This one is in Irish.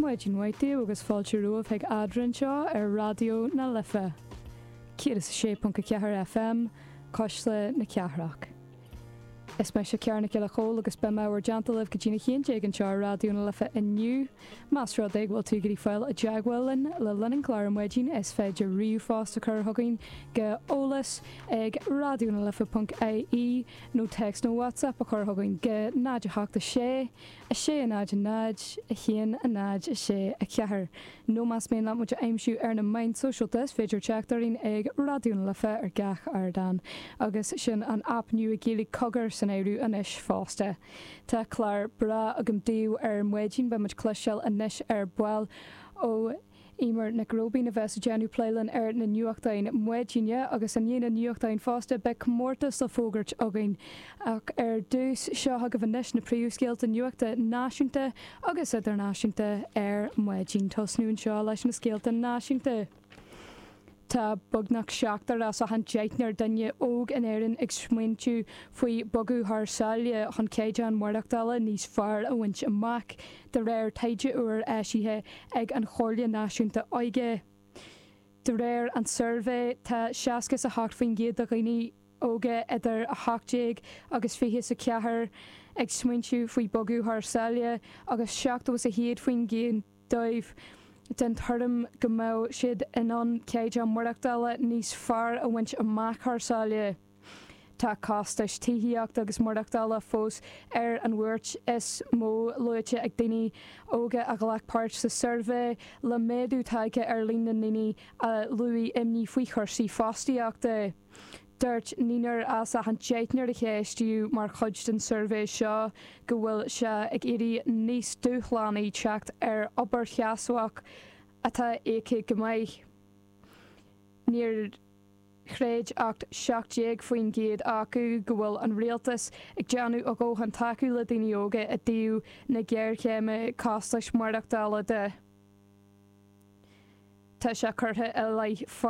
Maidin mhaith daoibh agus fáilte romhaibh chuig Eadrainn anseo ar Raidió na Life 106.4 FM, Cuisle na Cathrach. Is mise Ciara Nic Giolla Chóill agus beidh mé bhur dteannta libh go dtína 11 anseo ar Raidió na Life inniu. Más rud é go bhfuil tú ag iarraidh fáil i dteagmháil linn le linn an chláir ar maidin is féidir ríomhphost a chur chugainn go eolas ag raidionalife.ie nó téacs nó WhatsApp a chur chugainn go 0 8 6 6 0 0 1 0 6 4 Nó más mian leat muid a aimsiú ar na meáin sóisialta is féidir teacht orainn ag Raidió na Life ar gach ardán. Agus sin an aip nua Gaeilge Cogar san áireamh anois fosta. Tá clár breá agam daoibh ar maidin. Beidh muid cloisteáil anois ar ball ó Eimear Nic Róibín a bheas ag déanamh plé linn ar na nuachtáin maidine agus i ndiaidh na nuachtáin fosta beidh comórtas le fógairt againn. Ach ar dtús, seo chugaibh anois na príomhscéalta nuachta náisiúnta agus idirnáisiúnta ar maidin. Tosnú anseo leis na scéalta náisiúnta. Tá beagnach seachtar as achan deichniúr duine óg in Éirinn ag smaointiú faoi bogadh thar sáile chun caighdeán maireachtála níos fearr a bhaint amach, de réir taighde úr eisithe ag an Chomhairle Náisiúnta Óige. De réir an tsuirbhé, tá 68% de dhaoine óga idir 18 agus 24 ag smaointiú faoi bogadh thar sáile agus 71% dóibh den tuairim go mbeadh siad in ann caighdeán maireachtála níos fearr a bhaint amach thar sáile. Tá costais tithíochta agus maireachtála fós ar an bhuairt is mó luaite ag daoine óga a ghlac páirt sa suirbhé, le méadú tagtha ar líon na ndaoine a luaigh imní faoi chúrsaí fostaíochta. Dúirt naonúr as achan deichniúr a ceistíodh mar chuid den suirbhé seo go bhfuil sé ag éirí níos dúshlánaí teacht ar obair sheasmhach atá íoctha go maith. Níor chreid ach 17% acu go bhfuil an rialtas ag déanamh a dhóthain tacú le daoine óga i dtaobh na géarchéime costais maireachtála de. Tá sé curtha i leith.